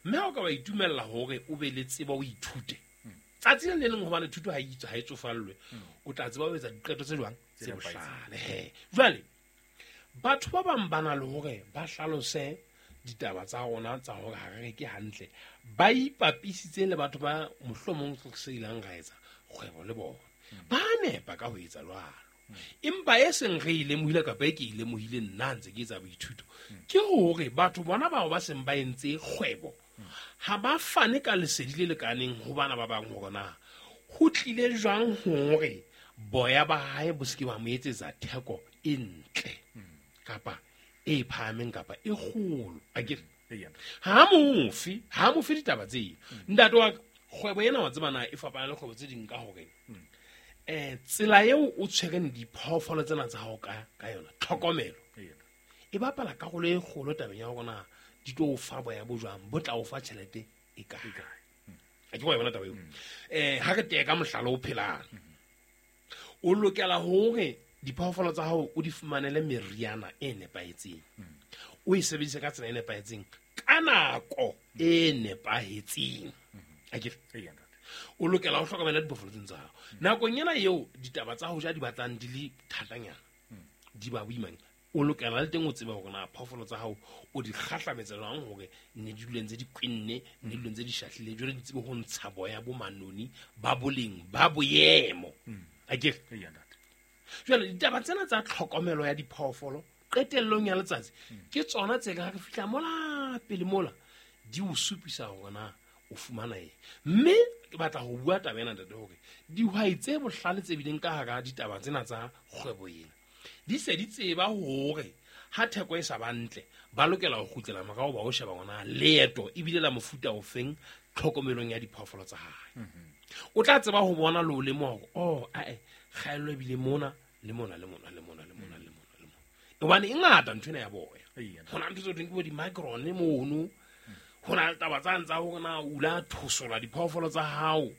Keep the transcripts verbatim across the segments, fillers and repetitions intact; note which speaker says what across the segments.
Speaker 1: Mme ha o ka wa itumella hore o be le tsebo, o ithute tsatsi le le leng, hobane thuto ha e itswe, ha e tsofallwe, o tla tseba ho etsa diqeto tse jwang? Tse
Speaker 2: Tse nepahetseng.
Speaker 1: bohlale. He, jwale batho ba bang ba na le hore ba hlalose ditaba tsa rona tsa hore ha re reke hantle, ba ipapisitse le batho ba mohlomong re se ilang ra etsa kgwebo le bona. Ba nepa ka ho etsa jwalo, empa e seng re e lemohile, kapa e ke e lemohile nna ha ntse ke etsa boithuto, ke hore batho bona bao ba seng ba entse kgwebo ha ba fane ka lesedi le lekaneng ho bana ba bang hore na ho tlile jwang hore boya ba hae bo se ke ba mo etsetsa theko e ntle kapa e phahameng kapa e kgolo, akere?
Speaker 2: Eya, ntate.
Speaker 1: Ha mofe, ha mofe ditaba tseo. Ntate wa ka, kgwebo ena, wa tseba na e fapana le kgwebo tse ding ka hore um tsela eo o tshwereng diphoofolo tsena tsa hao ka ka yona, tlhokomelo
Speaker 2: Eya, ntate.
Speaker 1: e bapala karolo e kgolo tabeng ya hore na di tlo o fa boya bo jwang bo tla o fa tjhelete e kae.
Speaker 2: E kae?
Speaker 1: A ke wa e bona taba eo? um ha re teye ka mohlala o phelang, o lokela hore diphoofolo tsa hao o di fumanele meriana e nepahetseng, o e sebedise ka tsela e nepahetseng ka nako e nepahetseng, akere?
Speaker 2: Eya, ntate.
Speaker 1: O lokela ho hlokomela diphoofolo tseno tsa hao nakong ena eo ditaba tsa ho ja di batlang di le thatanyana, di ba boimanyana. O lokela le teng o tsebe hore na phoofolo tsa hao o di kgahlametsa jwang hore ne di dule ntse di kwenne, ne di dule ntse di shahlile, jwale di tsebe ho ntsha boya bo manoni ba boleng ba boemo, akere?
Speaker 2: Eya, ntate.
Speaker 1: Jwale ditaba tsena tsa tlhokomelo ya diphoofolo qetellong ya letsatsi ke tsona tse ka re fihla mola pele mola di o supisa hore na o fumana eng. Mme ke batla ho bua taba ena, ntate, hore dihwai tse bohlale tse bileng ka hara ditaba tsena tsa kgwebo ena di se di tseba hore ha theko e sa ba ntle, ba lokela ho kgutlela morao, ba ho sheba hore na leeto ebile la mofuta ofeng tlhokomelong ya diphoofolo tsa hae. O tla tseba ho bona le ho lemoha hore oh, ae, kgaello ebile mona le mona le mona le mona le mona le mona le mona, hobane e ngata ntho ena ya boya.
Speaker 2: Eya, ntate.
Speaker 1: Ho na ntho tse thweng ke bo di-micron mono, ho na le taba tsane tsa hore na o la thosola diphoofolo tsa hao,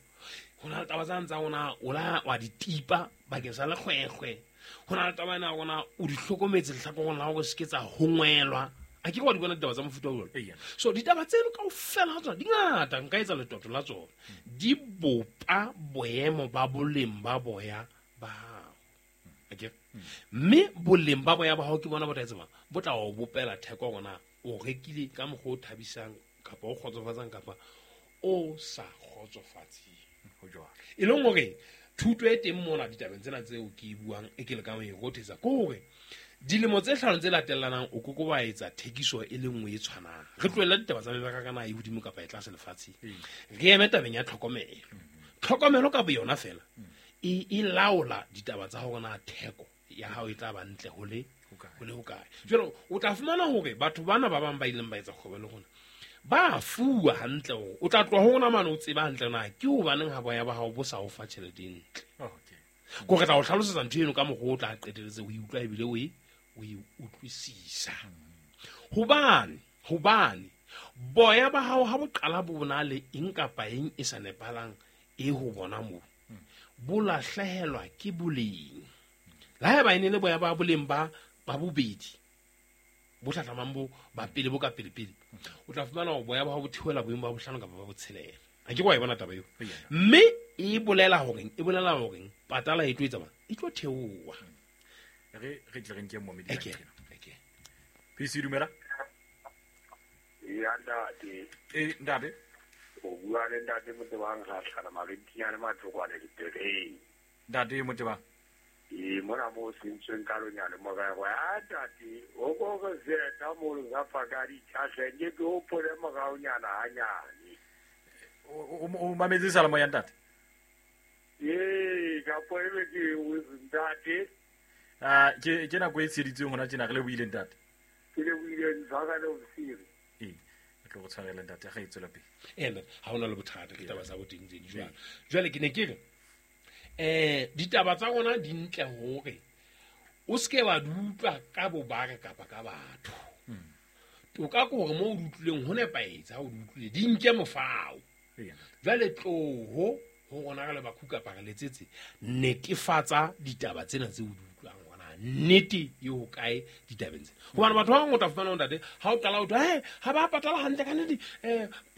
Speaker 1: ho na le taba tsane tsa hore na o la wa di tipa bakeng sa lekgwekgwe, ho na le taba ena ya hore na o di hlokometse lehlakoreng la hore se ke tsa hongwelwa. A ke wa di bona ditaba tsa mofuta o jwalo?
Speaker 2: Eya.
Speaker 1: So ditaba tseno kaofela ha tsona di ngata, nka etsa letoto la tsona, di bopa boemo ba boleng ba boya ba hao, akere? Mme boleng ba boya ba hao ke bona bo tla etsang, bo tla o bopela theko hore na o rekile ka mokgwa o thabisang kapa o kgotsofatsang kapa o sa kgotsofatseng.
Speaker 2: Ho jwalo.
Speaker 1: E leng hore thuto e teng mona ditabeng tsena tseo ke e buang, e ke lekang ho e rothetsa, ke hore dilemo tse hlano tse latellanang o koko wa etsa thekiso e le nngwe e tshwanang. Re tlohella ditaba tsa mebaraka na e hodimo kapa e tlase lefatsheng, re eme tabeng ya tlhokomelo. Tlhokomelo ka boyona fela e e laola ditaba tsa hore na theko ya hao e tla ba ntle ho le
Speaker 2: Hokae.
Speaker 1: ho le hokae. Jwale o tla fumana hore batho bana ba bang ba ileng ba etsa kgwebo le rona ba fuwa hantle hore o tla tloha ho rona mane o tseba hantle na ke hobaneng ha boya ba hao bo sa o fa tjhelete e ntle.
Speaker 2: Okay.
Speaker 1: Ko re tla o hlalosetsa ntho eno ka mokgwa o tla qeteletse o e utlwa ebile o e o e utlwisisa, hobane hobane boya ba hao ha bo qala bo na le eng kapa eng e sa nepahalang e ho bona moo, bo lahlehelwa ke boleng. Le haeba e ne le boya ba boleng ba ba bobedi bo hlahlamang bo ba pele bo ka pele-pele, o tla fumana hore boya ba hao bo theohela boemo ba bohlano kapa ba botshelela. A ke wa e bona taba eo?
Speaker 2: Eya.
Speaker 1: Mme e bolela horeng, e bolela horeng patala e tlo etsa bang, e tlo theoha.
Speaker 2: Re re tle re nke momedi.
Speaker 1: Eke, eke.
Speaker 2: P C, dumela.
Speaker 3: Ya, ntate.
Speaker 2: Eh, ntate.
Speaker 3: O bua le ntate Motebang Gatlhana Marentinyane Matlokwane dipereng.
Speaker 2: Ntate Motebang.
Speaker 3: Ee, mona mo sentsweng ka lonyane morero ya ntate o ko re zeta mo sa faka ditšhahle nke ke hopole moraonyana hanyane.
Speaker 2: O o mametse sala moya, ntate?
Speaker 3: Ee, kapo ebe ke ntate.
Speaker 2: Ah, ke ke nako e tsheditsweng hona tjena, re le buile, ntate.
Speaker 3: Ke le buile, ntshwara le ofisiri.
Speaker 2: Ee, re tlo go tshwarela, ntate, ga e tswela pele.
Speaker 1: Ene ha hona le bothata, ke taba tsa boteng tse di jwalo. Jwale ke ne ke re um ditaba tsa rona di ntle hore o seke wa di utlwa ka bobare kapa ka batho. Toka ke hore mo o di utlwileng ho nepahetse, ha o di utlwile di nke mofao.
Speaker 2: Eya, ntate.
Speaker 1: Jwale tloho ho rona re le bakhu kapa re letsetse, netefatsa ditaba tsena tse o di utlwang hore na nnete e ho kae ditabeng tsena, hobane batho ba bang o tla fumana ho ntate ha o qala o thwa he ha ba patala hantle ka nnete um.